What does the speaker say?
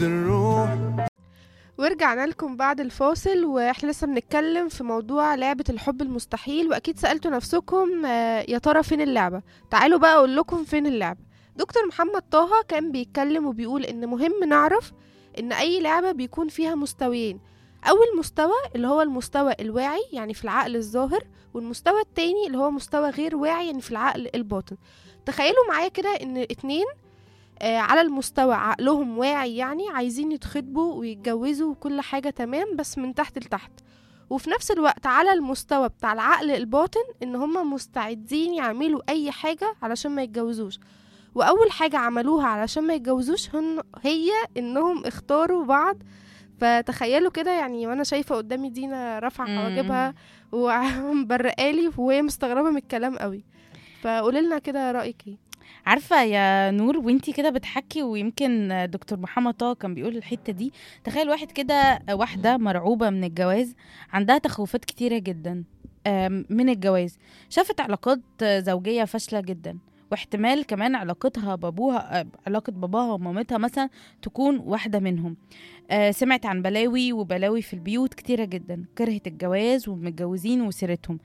الروح. ورجعنا لكم بعد الفاصل واحنا لسه بنتكلم في موضوع لعبة الحب المستحيل، واكيد سألتوا نفسكم يا ترى فين اللعبة؟ تعالوا بقى اقول لكم فين اللعبة. دكتور محمد طه كان بيتكلم وبيقول ان مهم نعرف ان اي لعبة بيكون فيها مستويين. اول مستوى اللي هو المستوى الواعي يعني في العقل الظاهر، والمستوى التاني اللي هو مستوى غير واعي يعني في العقل الباطن. تخيلوا معايا كده ان اتنين على المستوى عقلهم واعي، يعني عايزين يتخطبوا ويتجوزوا وكل حاجة تمام بس من تحت لتحت. وفي نفس الوقت على المستوى بتاع العقل الباطن ان هما مستعدين يعملوا اي حاجة علشان ما يتجوزوش. واول حاجة عملوها علشان ما يتجوزوش هي انهم اختاروا بعض. فتخيلوا كده يعني، وانا شايفة قدامي دينا رافعة حواجبها إمم. ومبرقالي وهي مستغربة من الكلام قوي. فقوليلنا كده رأيك ايه؟ عارفة يا نور، وانتي كده بتحكي ويمكن دكتور محمد طه كان بيقول الحتة دي. تخيل واحد كده، واحدة مرعوبة من الجواز، عندها تخوفات كتيرة جدا من الجواز. شافت علاقات زوجية فاشلة جدا، واحتمال كمان علاقتها بابوها، علاقة باباها ومامتها مثلا تكون واحدة منهم. سمعت عن بلاوي وبلاوي في البيوت كتيرة جدا، كرهت الجواز والمتجوزين وسيرتهم،